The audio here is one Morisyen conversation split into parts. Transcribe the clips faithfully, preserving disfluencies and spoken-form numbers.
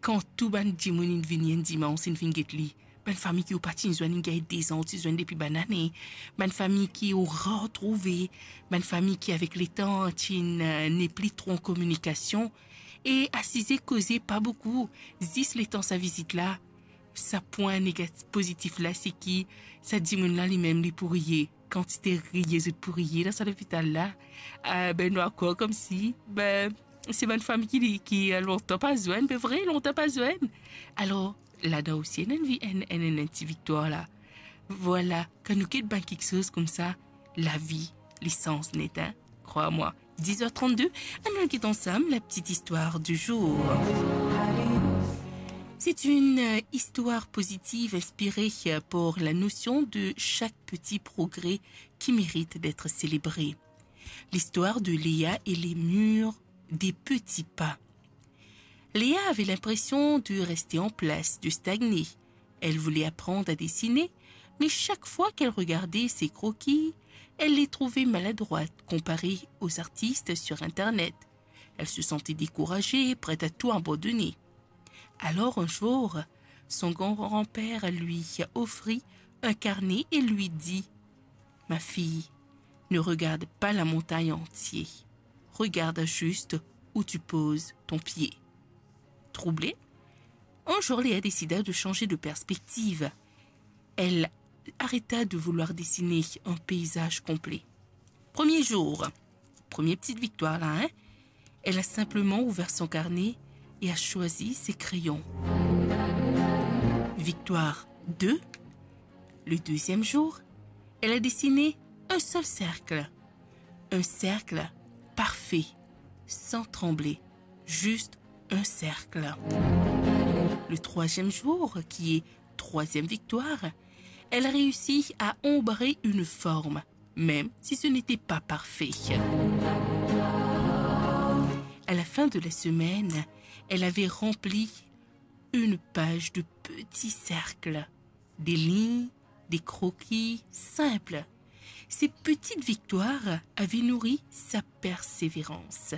kan tou bann dimoun inn vini enn dimans, inn vinn get li, bann fami ki ou pa ti zwenn, inn gagn dezan ou ti zwenn depi bann ane, bann fami ki ou rar trouve, bann fami ki avek letan ti inn, eh, nepli tro an kominikasion, e asize koze pa boukou, zis letan sa vizit la, sa pwin negat-, pozitif la, se ki sa dimoun la limem li pou riye. Kantite riye zot pou riye dan sa lopital la. Ah, be, nou akor koumsi, be, se bann fami ki, ki, eh, lontan pa zwenn, be vre, lontan pa zwenn. Alor, ladan osi, ena enn vi-, enn, enn, enn, enn ti viktwar la. Vwala, kan nou get bann kiksoz koumsa, lavi, li sanz net, hein. Crois-moi. Dix heures trente-deux, allons écouter ensemble la petite histoire du jour. C'est une, euh, histoire positive inspirée, euh, par la notion de chaque petit progrès qui mérite d'être célébré. L'histoire de Léa et les murs des petits pas. Léa avait l'impression de rester en place, de stagner. Elle voulait apprendre à dessiner, mais chaque fois qu'elle regardait ses croquis, elle les trouvait maladroites comparées aux artistes sur Internet. Elle se sentait découragée, prête à tout abandonner. Alors un jour, son grand-père lui offrit un carnet et lui dit : « Ma fille, ne regarde pas la montagne entière. Regarde juste où tu poses ton pied. » Troublée, un jour Léa décida de changer de perspective. Elle arrêta de vouloir dessiner un paysage complet. Premier jour, première petite victoire là, hein ? Elle a simplement ouvert son carnet et a choisi ses crayons. Victoire deux, le deuxième jour, elle a dessiné un seul cercle. Un cercle parfait, sans trembler. Juste un cercle. Le troisième jour, qui est troisième victoire, elle réussit à ombrer une forme, même si ce n'était pas parfait. À la fin de la semaine, elle avait rempli une page de petits cercles, des lignes, des croquis simples. Ces petites victoires avaient nourri sa persévérance.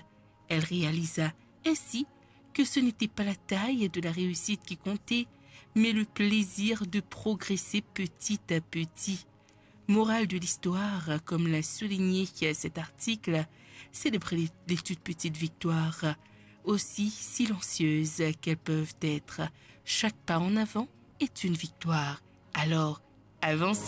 Elle réalisa ainsi que ce n'était pas la taille de la réussite qui comptait, mais le plaisir de progresser petit à petit. Morale de l'histoire, comme l'a souligné cet article, célébrez les, les toutes petites victoires, aussi silencieuses qu'elles peuvent être. Chaque pas en avant est une victoire. Alors, avance.